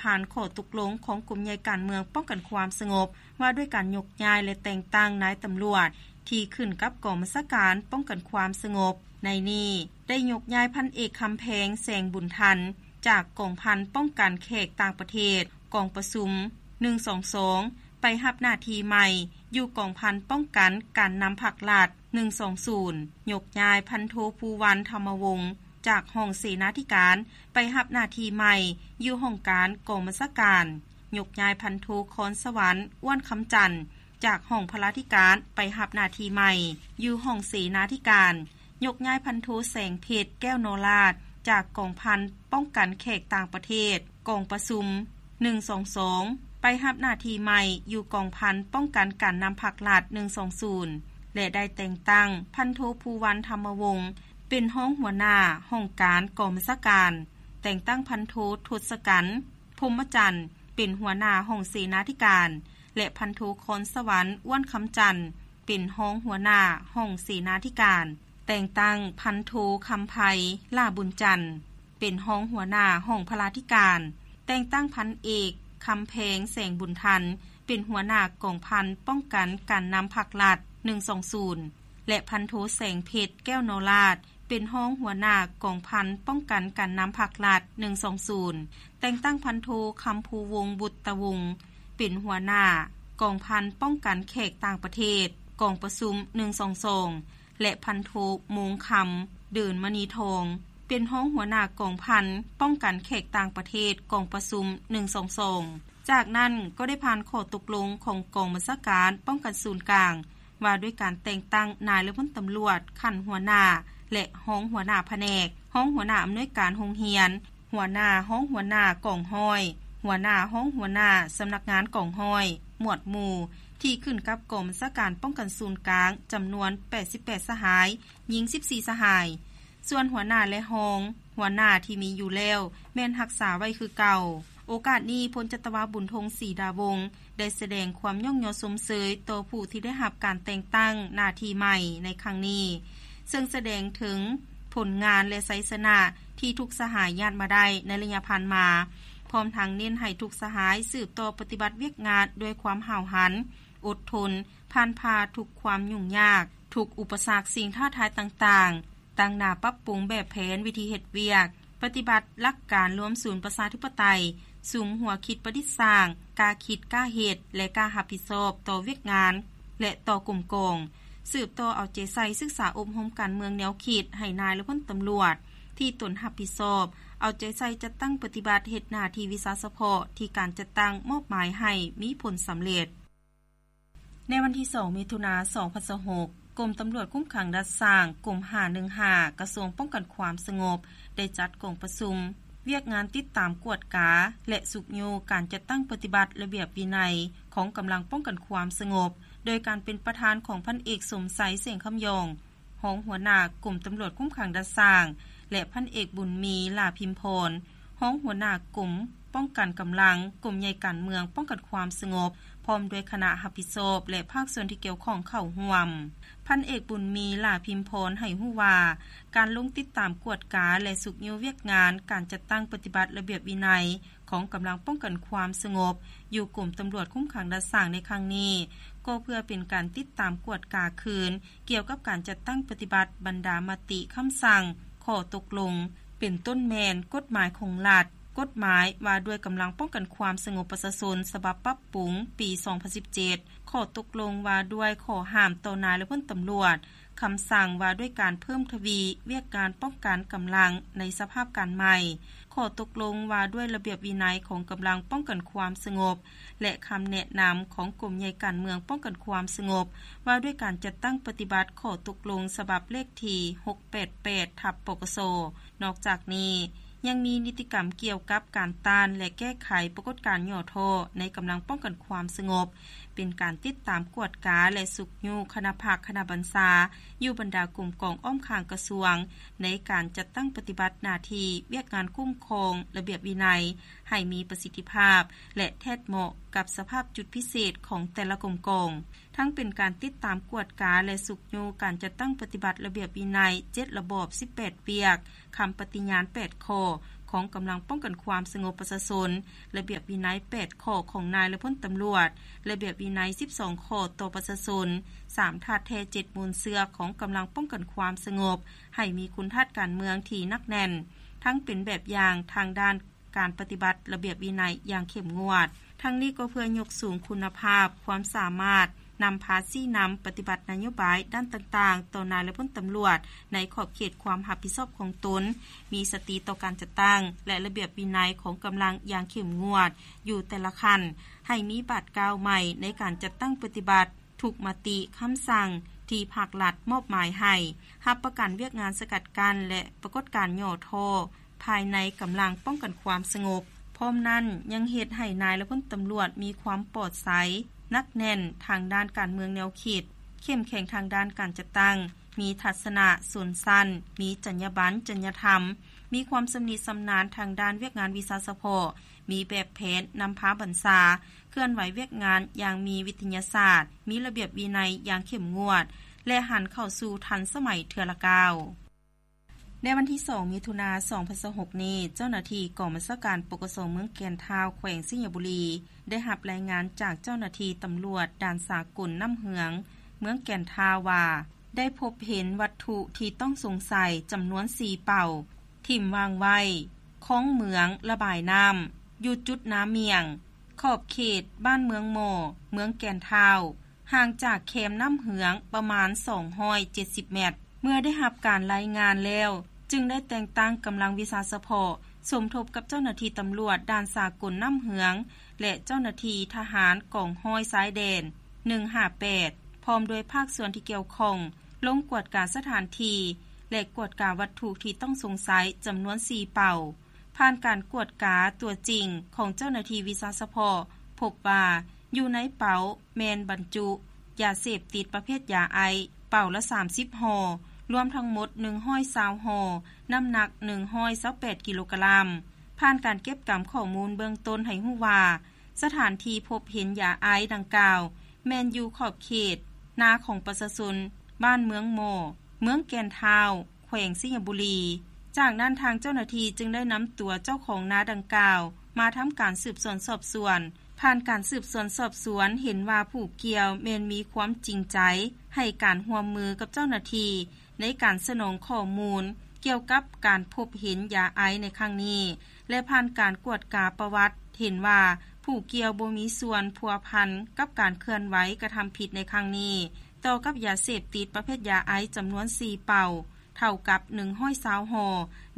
ຜ່ານຂໍ້ຕົກລົງຂອງກົມໃຫຍ່ການເມືອງປ້ອງກັນຄວາມສະຫງົບ ວ່າດ້ວຍການຍົກຍ້າຍ ແລະ ແຕ່ງຕັ້ງນາຍຕຳຫຼວດ ທີ່ຂຶ້ນກັບກອງບັນຊາການປ້ອງກັນຄວາມສະຫງົບ. ໃນນີ້ໄດ້ຍົກຍ້າຍພັນເອກ ຄຳແພງ ແສງບຸນທັນ ຈາກກອງພັນປ້ອງກັນແຂກຕ່າງປະເທດ ກອງປະຊຸມໜຶ່ງສອງສອງ ໄປຮັບໜ້າທີ່ໃໝ່ຢູ່ກອງພັນປ້ອງກັນການນຳພັກລັດໜຶ່ງສອງສູນ, ຍົກຍ້າຍພັນໂທ ພູວັນ ທຳມະວົງ ຈາກຫ້ອງເສນາທິການໄປຮັບໜ້າທີ່ໃໝ່ຢູ່ຫ້ອງການກອງບັນຊາການ, ຍົກຍ້າຍພັນໂທ ຄອນສະຫວັນ ອ້ວນຄຳຈັນ ຈາກຫ້ອງພະລາທິການໄປຮັບໜ້າທີ່ໃໝ່ຢູ່ຫ້ອງເສນາທິການ, ຍົກຍ້າຍພັນໂທ ແສງເພັດ ແກ້ວນໍລາດ ຈາກກອງພັນປ້ອງກັນແຂກຕ່າງປະເທດ ກອງປະຊຸມໜຶ່ງສອງສອງ ໄປຮັບໜ້າທີ່ໃໝ່ຢູ່ກອງພັນປ້ອງກັນການນຳພັກລັດໜຶ່ງສອງສູນ ແລະ ໄດ້ແຕ່ງຕັ້ງພັນໂທ ພູວັນ ທຳມະວົງ ເປັນຮອງຫົວໜ້າຫ້ອງການກອງບັນຊາການ, ແຕ່ງຕັ້ງພັນໂທ ທົດສະກັນ ພົມມະຈັນ ເປັນຫົວໜ້າຫ້ອງເສນາທິການ ແລະ ພັນໂທ ຄອນສະຫວັນ ອ້ວນຄຳຈັນ ເປັນຮອງຫົວໜ້າຫ້ອງເສນາທິການ, ແຕ່ງຕັ້ງພັນໂທ ຄຳໄພ ຫຼ້າບຸນຈັນ ເປັນຮອງຫົວໜ້າຫ້ອງພະລາທິການ, ແຕ່ງຕັ້ງພັນເອກ ຄຳແພງ ແສງບຸນທັນ ເປັນຫົວໜ້າກອງພັນປ້ອງກັນການນຳພັກລັດໜຶ່ງສອງສູນ ແລະ ພັນໂທ ແສງເພັດ ແກ້ວນໍລາດ ເປັນຮອງຫົວໜ້າກອງພັນປ້ອງກັນການນຳພັກລັດໜຶ່ງສອງສູນ, ແຕ່ງຕັ້ງພັນໂທ ຄຳພູວົງ ບຸດຕະວົງ ເປັນຫົວໜ້າກອງພັນປ້ອງກັນແຂກຕ່າງປະເທດ ກອງປະຊຸມໜຶ່ງສອງສອງ ແລະ ພັນໂທ ໂມງຄຳ ເດີນມະນີທອງ ເປັນຮອງຫົວໜ້າກອງພັນປ້ອງກັນແຂກຕ່າງປະເທດ ກອງປະຊຸມໜຶ່ງສອງສອງ. ຈາກນັ້ນກໍໄດ້ຜ່ານຂໍ້ຕົກລົງຂອງກອງບັນຊາການປ້ອງກັນສູນກາງ ວ່າດ້ວຍການແຕ່ງຕັ້ງນາຍ ແລະ ພົນຕຳຫຼວດຂັ້ນຫົວໜ້າ ແລະ ຮອງຫົວໜ້າພະແນກ, ຮອງຫົວໜ້າອຳນວຍການໂຮງຮຽນ, ຫົວໜ້າ, ຮອງຫົວໜ້າກອງຮ້ອຍ, ຫົວໜ້າ, ຮອງຫົວໜ້າສຳນັກງານກອງຮ້ອຍ, ໝວດໝູ່ ທີ່ຂຶ້ນກັບກອງບັນຊາການປ້ອງກັນສູນກາງ ຈຳນວນແປດສິບແປດສະຫາຍ, ຍິງສິບສີ່ສະຫາຍ. ສ່ວນຫົວໜ້າ ແລະ ຮອງຫົວໜ້າທີ່ມີຢູ່ແລ້ວ ແມ່ນຮັກສາໄວ້ຄືເກົ່າ. ໂອກາດນີ້ ພົນຈັດຕະວາ ບຸນທົງ ສີດາວົງ ໄດ້ສະແດງຄວາມຍ້ອງຍໍຊົມເຊີຍຕໍ່ຜູ້ທີ່ໄດ້ຮັບການແຕ່ງຕັ້ງໜ້າທີ່ໃໝ່ໃນຄັ້ງນີ້, ເຊິ່ງສະແດງເຖິງຜົນງານ ແລະ ໄຊຊະນະທີ່ທຸກສະຫາຍຍາດມາໄດ້ໃນໄລຍະຜ່ານມາ, ພ້ອມທັງເນັ້ນໃຫ້ທຸກສະຫາຍສືບຕໍ່ປະຕິບັດວຽກງານດ້ວຍຄວາມຫ້າວຫັນ, ອົດທົນ, ຜ່ານຜ່າທຸກຄວາມຫຍຸ້ງຍາກ, ທຸກອຸປະສັກ, ສິ່ງທ້າທາຍຕ່າງໆ, ຕັ້ງໜ້າປັບປຸງແບບແຜນວິທີເຮັດວຽກ, ປະຕິບັດຫຼັກການລວມສູນປະຊາທິປະໄຕ, ສຸມຫົວຄິດປະດິດສ້າງ, ກ້າຄິດ, ກ້າເຮັດ ແລະ ກ້າຮັບຜິດຊອບຕໍ່ວຽກງານ ແລະ ຕໍ່ກົມກອງ, ສືບຕໍ່ເອົາໃຈໃສ່ສຶກສາອົບຮົມການເມືອງແນວຄິດໃຫ້ນາຍ ແລະ ພົນຕຳຫຼວດທີ່ຕົນຮັບຜິດຊອບ, ເອົາໃຈໃສ່ຈັດຕັ້ງປະຕິບັດເຮັດໜ້າທີ່ວິຊາສະເພາະທີ່ການຈັດຕັ້ງມອບໝາຍໃຫ້ມີຜົນສຳເລັດ. ໃນວັນທີສອງ ມິຖຸນາ ສອງພັນຊາວຫົກ, ກົມຕຳຫຼວດຄຸມຂັງດ່ານຊ້າງ ກົມຫ້າໜຶ່ງຫ້າ ກະຊວງປ້ອງກັນຄວາມສະຫງົບ ໄດ້ຈັດກອງປະຊຸມວຽກງານຕິດຕາມກວດກາ ແລະ ຊຸກຍູ້ການຈັດຕັ້ງປະຕິບັດລະບຽບວິໄນຂອງກຳລັງປ້ອງກັນຄວາມສະຫງົບ ໂດຍການເປັນປະທານຂອງພັນເອກ ສົມໄຊ ແສງຄຳຢອງ ຮອງຫົວໜ້າກົມຕຳຫຼວດຄຸມຂັງດ່ານຊ້າງ ແລະ ພັນເອກ ບຸນມີ ຫຼ້າພິມພອນ ຮອງຫົວໜ້າກົມປ້ອງກັນກຳລັງ ກົມໃຫຍ່ການເມືອງປ້ອງກັນຄວາມສະຫງົບ ພ້ອມດ້ວຍຄະນະຮັບຜິດຊອບ ແລະ ພາກສ່ວນທີ່ກ່ຽວຂ້ອງເຂົ້າຮ່ວມ. ພັນເອກ ບຸນມີ ຫຼ້າພິມພອນ ໃຫ້ຮູ້ວ່າ ການລົງຕິດຕາມກວດກາ ແລະ ຊຸກຍູ້ວຽກງານການຈັດຕັ້ງປະຕິບັດລະບຽບວິໄນ ຂອງກຳລັງປ້ອງກັນຄວາມສະຫງົບຢູ່ກົມຕຳຫຼວດຄຸມຂັງດ່ານຊ້າງໃນຄັ້ງນີ້ ກໍເພື່ອເປັນການຕິດຕາມກວດກາຄືນ ກ່ຽວກັບການຈັດຕັ້ງປະຕິບັດບັນດາມະຕິ, ຄຳສັ່ງ, ຂໍ້ຕົກລົງ ເປັນຕົ້ນແມ່ນກົດໝາຍຂອງລັດ, ກົດໝາຍວ່າດ້ວຍກຳລັງປ້ອງກັນຄວາມສະຫງົບປະຊາຊົນ ສະບັບປັບປຸງປີສອງພັນສິບເຈັດ, ຂໍ້ຕົກລົງວ່າດ້ວຍຂໍ້ຫ້າມຕໍ່ນາຍ ແລະ ພົນຕຳຫຼວດ, ຄຳສັ່ງວ່າດ້ວຍການເພີ່ມທະວີວຽກງານປ້ອງກັນກຳລັງໃນສະພາບການໃໝ່, ຂໍ້ຕົກລົງວ່າດ້ວຍລະບຽບວິໄນຂອງກຳລັງປ້ອງກັນຄວາມສະຫງົບ ແລະ ຄຳແນະນຳຂອງກົມໃຫຍ່ການເມືອງປ້ອງກັນຄວາມສະຫງົບ ວ່າດ້ວຍການຈັດຕັ້ງປະຕິບັດຂໍ້ຕົກລົງສະບັບເລກທີຫົກແປດແປດ ທັບ ປກສ. ນອກຈາກນີ້ ຍັງມີນິຕິກຳກ່ຽວກັບການຕ້ານ ແລະ ແກ້ໄຂປາກົດການຫຍໍ້ທໍ້ໃນກຳລັງປ້ອງກັນຄວາມສະຫງົບ, ເປັນການຕິດຕາມກວດກາ ແລະ ຊຸກຍູ້ຄະນະພັກຄະນະບັນຊາ ຢູ່ບັນດາກົມກອງອ້ອມຂ້າງກະຊວງ ໃນການຈັດຕັ້ງປະຕິບັດໜ້າທີ່ວຽກງານຄຸ້ມຄອງລະບຽບວິໄນ ໃຫ້ມີປະສິດທິພາບ ແລະ ແທດເໝາະກັບສະພາບຈຸດພິເສດຂອງແຕ່ລະກົມກອງ, ທັງເປັນການຕິດຕາມກວດກາ ແລະ ຊຸກຍູ້ການຈັດຕັ້ງປະຕິບັດລະບຽບວິໄນເຈັດລະບອບ ສິບແປດວຽກ, ຄຳປະຕິຍານແປດຂໍ້, ຂອງກຳລັງປ້ອງກັນຄວາມສະຫງົບປະຊາຊົນ, ລະບຽບວິໄນແປດຂໍ້ຂອງນາຍ ແລະ ພົນຕຳຫຼວດ, ລະບຽບວິໄນສິບສອງຂໍ້ຕໍ່ປະຊາຊົນ, ສາມ ທ່າແທ້ເຈັດມູນເຊື້ອຂອງກຳລັງປ້ອງກັນຄວາມສະຫງົບ ໃຫ້ມີຄຸນທາດການເມືອງທີ່ໜັກແໜ້ນ, ທັງເປັນແບບຢ່າງທາງດ້ານການປະຕິບັດລະບຽບວິໄນຢ່າງເຂັ້ມງວດ. ທັງນີ້ກໍເພື່ອຍົກສູງຄຸນນະພາບ, ຄວາມສາມາດ, ນຳພາຊີ້ນຳປະຕິບັດນະໂຍບາຍດ້ານຕ່າງໆ ຕໍ່ນາຍ ແລະ ພົນຕຳຫຼວດ ໃນຂອບເຂດຄວາມຮັບຜິດຊອບຂອງຕົນ, ມີສະຕິຕໍ່ການຈັດຕັ້ງ ແລະ ລະບຽບວິໄນຂອງກຳລັງຢ່າງເຂັ້ມງວດຢູ່ແຕ່ລະຂັ້ນ, ໃຫ້ມີບາດກ້າວໃໝ່ໃນການຈັດຕັ້ງປະຕິບັດທຸກມະຕິຄຳສັ່ງທີ່ພັກລັດມອບໝາຍໃຫ້, ຮັບປະກັນວຽກງານສະກັດກັ້ນ ແລະ ປາກົດການຫຍໍ້ທໍ້ ພາຍໃນກຳລັງປ້ອງກັນຄວາມສະຫງົບ. ພ້ອມນັ້ນຍັງເຮັດໃຫ້ນາຍ ແລະ ພົນຕຳຫຼວດມີຄວາມປອດໃສ, ໜັກແໜ້ນທາງດ້ານການເມືອງແນວຄິດ, ເຂັ້ມແຂງທາງດ້ານການຈັດຕັ້ງ, ມີທັດສະນະຊົນຊັ້ນ, ມີຈັນຍາບັນ, ຈັນຍາທຳ, ມີຄວາມຊຳນິຊຳນານທາງດ້ານວຽກງານວິຊາສະເພາະ, ມີແບບແຜນນຳພາບັນຊາ, ເຄື່ອນໄຫວວຽກງານຢ່າງມີວິທະຍາສາດ, ມີລະບຽບວິໄນຢ່າງເຂັ້ມງວດ ແລະ ຫັນເຂົ້າສູ່ທັນສະໄໝເທື່ອລະກ້າວ. ໃນວັນທີສອງ ມິຖຸນາ ສອງພັນຊາວຫົກນີ້, ເຈົ້າໜ້າທີ່ກອງບັນຊາການ ປກສ ເມືອງແກ່ນທ້າວ ແຂວງໄຊຍະບູລີ ໄດ້ຮັບລາຍງານຈາກເຈົ້າໜ້າທີ່ຕຳຫຼວດດ່ານສາກົນນ້ຳເຫືອງ ເມືອງແກ່ນທ້າວວ່າ ໄດ້ພົບເຫັນວັດຖຸທີ່ຕ້ອງສົງໄສຈຳນວນສີ່ເປົາ ຖິ້ມວາງໄວ້ຄອງເໝືອງລະບາຍນ້ຳ ຢູ່ຈຸດນາໝ້ຽງ ຂອບເຂດບ້ານເມືອງໝໍ້ ເມືອງແກ່ນທ້າວ ຫ່າງຈາກແຄມນ້ຳເຫືອງປະມານສອງຮ້ອຍເຈັດສິບແມັດ. ເມື່ອໄດ້ຮັບການລາຍງານແລ້ວ, ຈຶ່ງໄດ້ແຕ່ງຕັ້ງກຳລັງວິຊາສະເພາະ ສົມທົບກັບເຈົ້າໜ້າທີ່ຕຳຫຼວດດ່ານສາກົນນ້ຳເຫືອງ ແລະ ເຈົ້າໜ້າທີ່ທະຫານກອງຮ້ອຍຊາຍແດນ ໜຶ່ງຫ້າແປດ ພ້ອມດ້ວຍພາກສ່ວນທີ່ກ່ຽວຂ້ອງ ລົງກວດກາສະຖານທີ່ ແລະ ກວດກາວັດຖຸທີ່ຕ້ອງສົງໄສຈຳນວນສີ່ເປົາ. ຜ່ານການກວດກາຕົວຈິງຂອງເຈົ້າໜ້າທີ່ວິຊາສະເພາະ ພົບວ່າຢູ່ໃນເປົາແມ່ນບັນຈຸຢາເສບຕິດປະເພດຢາໄອສ໌ ເປົາລະສາມສິບຫໍ່, ລວມທັງໝົດໜຶ່ງຮ້ອຍຊາວຫໍ່, ນ້ຳໜັກໜຶ່ງຮ້ອຍຊາວແປດກິໂລກຣາມ. ຜ່ານການເກັບກຳຂໍ້ມູນເບື້ອງຕົ້ນໃຫ້ຮູ້ວ່າ ສະຖານທີ່ພົບເຫັນຢາໄອສ໌ດັ່ງກ່າວ ແມ່ນຢູ່ຂອບເຂດນາຂອງປະຊາຊົນບ້ານເມືອງໝໍ້ ເມືອງແກ່ນທ້າວ ແຂວງໄຊຍະບູລີ. ຈາກນັ້ນທາງເຈົ້າໜ້າທີ່ຈຶ່ງໄດ້ນຳຕົວເຈົ້າຂອງນາດັ່ງກ່າວມາທຳການສືບສວນສອບສວນ. ຜ່ານການສືບສວນສອບສວນເຫັນວ່າຜູ້ກ່ຽວແມ່ນມີຄວາມຈິງໃຈໃຫ້ການຮ່ວມມືກັບເຈົ້າໜ້າທີ່ໃນການສະໜອງຂໍ້ມູນກ່ຽວກັບການພົບເຫັນຢາໄອສ໌ໃນຄັ້ງນີ້ ແລະ ຜ່ານການກວດກາປະຫວັດເຫັນວ່າຜູ້ກ່ຽວບໍ່ມີສ່ວນພົວພັນກັບການເຄື່ອນໄຫວກະທຳຜິດໃນຄັ້ງນີ້. ຕໍ່ກັບຢາເສບຕິດປະເພດຢາໄອສ໌ຈຳນວນສີ່ເປົາ ເທົ່າກັບໜຶ່ງຮ້ອຍຊາວຫໍ່,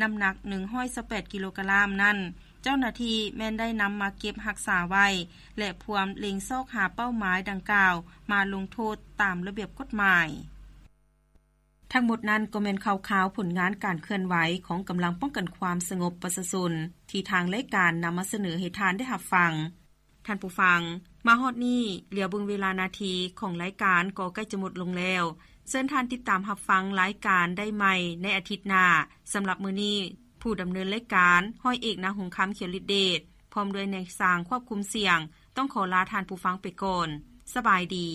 ນ້ຳໜັກໜຶ່ງຮ້ອຍຊາວແປດກິໂລກຣາມນັ້ນ, ເຈົ້າໜ້າທີ່ແມ່ນໄດ້ນຳມາເກັບຮັກສາໄວ້ ແລະ ພວມເລັງຊອກຫາເປົ້າໝາຍດັ່ງກ່າວມາລົງໂທດຕາມລະບຽບກົດໝາຍ. ທັງໝົດນັ້ນກໍແມ່ນຂ່າວຄາວຜົນງານການເຄື່ອນໄຫວຂອງກຳລັງປ້ອງກັນຄວາມສະຫງົບປະຊາຊົນ ທີ່ທາງລາຍການນຳມາສະເໜີໃຫ້ທ່ານໄດ້ຮັບຟັງ. ທ່ານຜູ້ຟັງ, ມາຮອດນີ້, ຫຼຽວເບິ່ງເວລານາທີຂອງລາຍການກໍໃກ້ຈະໝົດລົງແລ້ວ. ເຊີນທ່ານຕິດຕາມຮັບຟັງລາຍການໄດ້ໃໝ່ໃນອາທິດໜ້າ. ສຳລັບມື້ນີ້, ຜູ້ດຳເນີນລາຍການ ຮ້ອຍເອກ ນາຫົງຄຳ ຂຽວລິດເດດ ພ້ອມດ້ວຍນາຍຊ່າງຄວບຄຸມສຽງ ຕ້ອງຂໍລາທ່ານຜູ້ຟັງໄປກ່ອນ. ສະບາຍດີ.